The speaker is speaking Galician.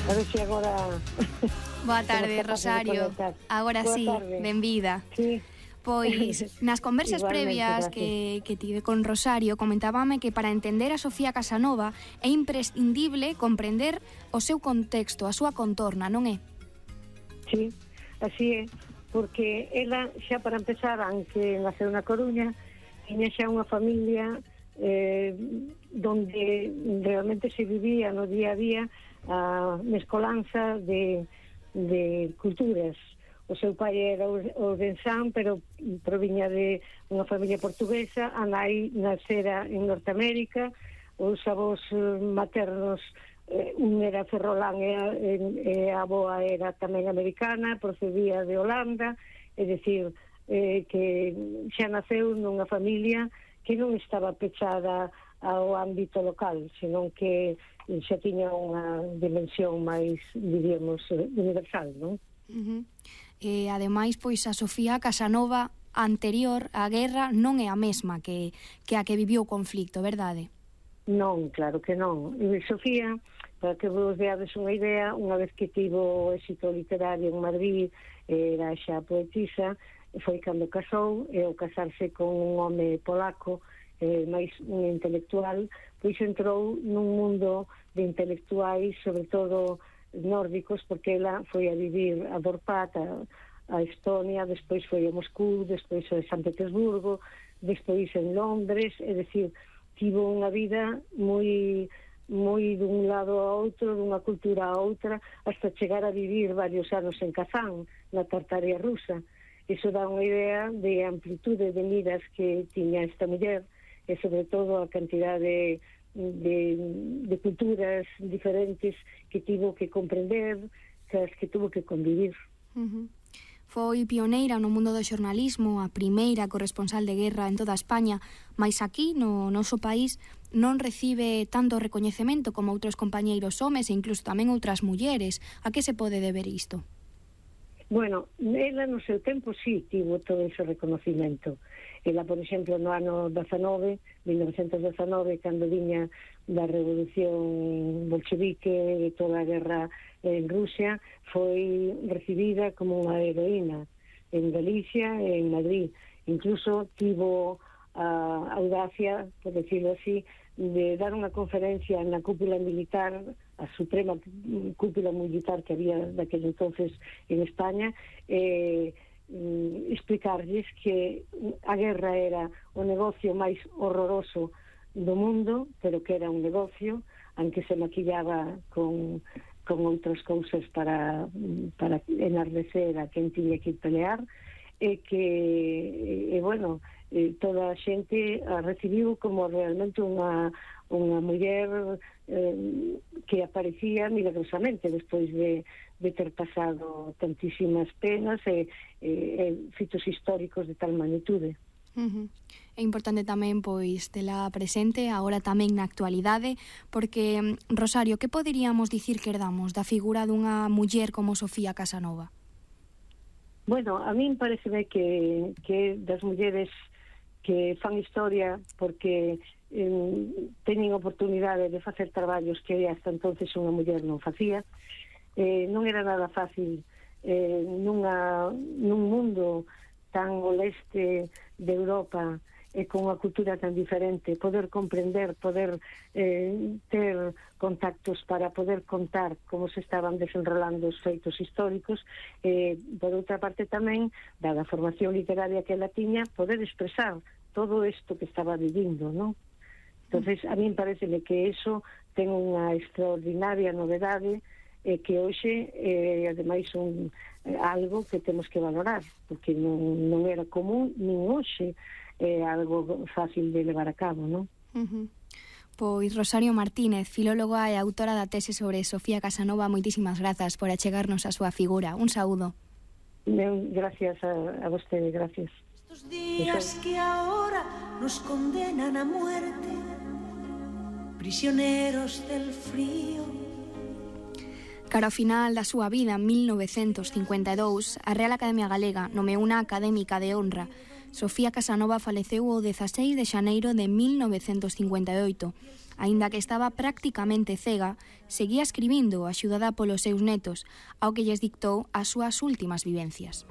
A ver se agora... Boa tarde, Rosario. Agora sí, benvida. Sí. Pois, nas conversas previas que tive con Rosario, comentábame que para entender a Sofía Casanova é imprescindible comprender o seu contexto, a súa contorna, non é? Sí, así é, porque ela xa para empezar, aunque naceu na Coruña, tiña xa unha familia donde realmente se vivía no día a día a mescolanza de culturas. O seu pai era ourensán, pero proviña de unha familia portuguesa, a nai nacera en Norteamérica, os avós maternos, un era ferrolán e a avoa era tamén americana, procedía de Holanda, é dicir, que xa naceu nunha familia que non estaba pechada ao ámbito local, senón que xa tiña unha dimensión máis, diríamos, universal, non? E ademais, pois a Sofía Casanova anterior á guerra non é a mesma que a que viviu o conflicto, verdade? Non, claro que non. E Sofía, para que vos deades unha idea, unha vez que tivo éxito literario en Madrid, era xa poetisa, foi cando casou, e ao casarse con un home polaco, máis un intelectual, pois entrou nun mundo de intelectuais, sobre todo nórdicos, porque ela foi a vivir a Dorpat, a Estonia, despois foi a Moscú, despois a San Petersburgo, despois en Londres, é dicir, tivo unha vida moi dun lado a outro, dunha cultura a outra, hasta chegar a vivir varios anos en Kazán, na Tartaria rusa. Iso dá unha idea de amplitude de miras que tiña esta muller, e sobre todo a cantidade de culturas diferentes que tivo que comprender, que tuvo que convivir. Foi pioneira no mundo do xornalismo, a primeira corresponsal de guerra en toda España, mais aquí, no noso país, non recibe tanto recoñecemento como outros compañeiros homes e incluso tamén outras mulleres. A que se pode deber isto? Bueno, ela no seu tempo sí tivo todo ese reconocimento. Ela, por exemplo, no ano 1919, cando viña da revolución bolchevique e toda a guerra en Rusia, foi recibida como unha heroína en Galicia e en Madrid. Incluso tivo a audacia, por decirlo así, de dar unha conferencia na cúpula militar, a suprema cúpula militar que había daquele entonces en España, explicarlles que a guerra era o negocio máis horroroso do mundo, pero que era un negocio, aunque se maquillaba con outras cousas para enardecer a quen tiña que pelear, e que, bueno, toda a xente a recibiu como realmente unha muller que aparecía milagrosamente despois de ter pasado tantísimas penas e fitos históricos de tal magnitude. É importante tamén, pois, tela presente agora tamén na actualidade, porque, Rosario, que poderíamos dicir que herdamos da figura dunha muller como Sofía Casanova? Bueno, a min pareceme que das mulleres que fan historia porque teñen oportunidade de facer traballos que hasta entonces unha muller non facía. Non era nada fácil nun mundo tan ao leste de Europa e con unha cultura tan diferente, poder comprender, poder ter contactos para poder contar como se estaban desenrolando os feitos históricos, por outra parte tamén, dada a formación literaria que ela tiña, poder expresar todo isto que estaba vivindo, non? Entonces, a min pareceme que eso ten unha extraordinaria novedade que hoxe ademais algo que temos que valorar, porque non era común, nin hoxe algo fácil de levar a cabo, non? Pois Rosario Martínez, filóloga e autora da tese sobre Sofía Casanova, moitísimas grazas por achegarnos a súa figura. Un saúdo. Gracias a vostede, gracias. Estos días que ahora nos condenan a muerte, prisioneros del frío. Cara ao final da súa vida, en 1952, a Real Academia Galega nomeou unha académica de honra. Sofía Casanova faleceu o 16 de xaneiro de 1958. Aínda que estaba prácticamente cega, seguía escribindo axudada polos seus netos, ao que lles dictou as súas últimas vivencias.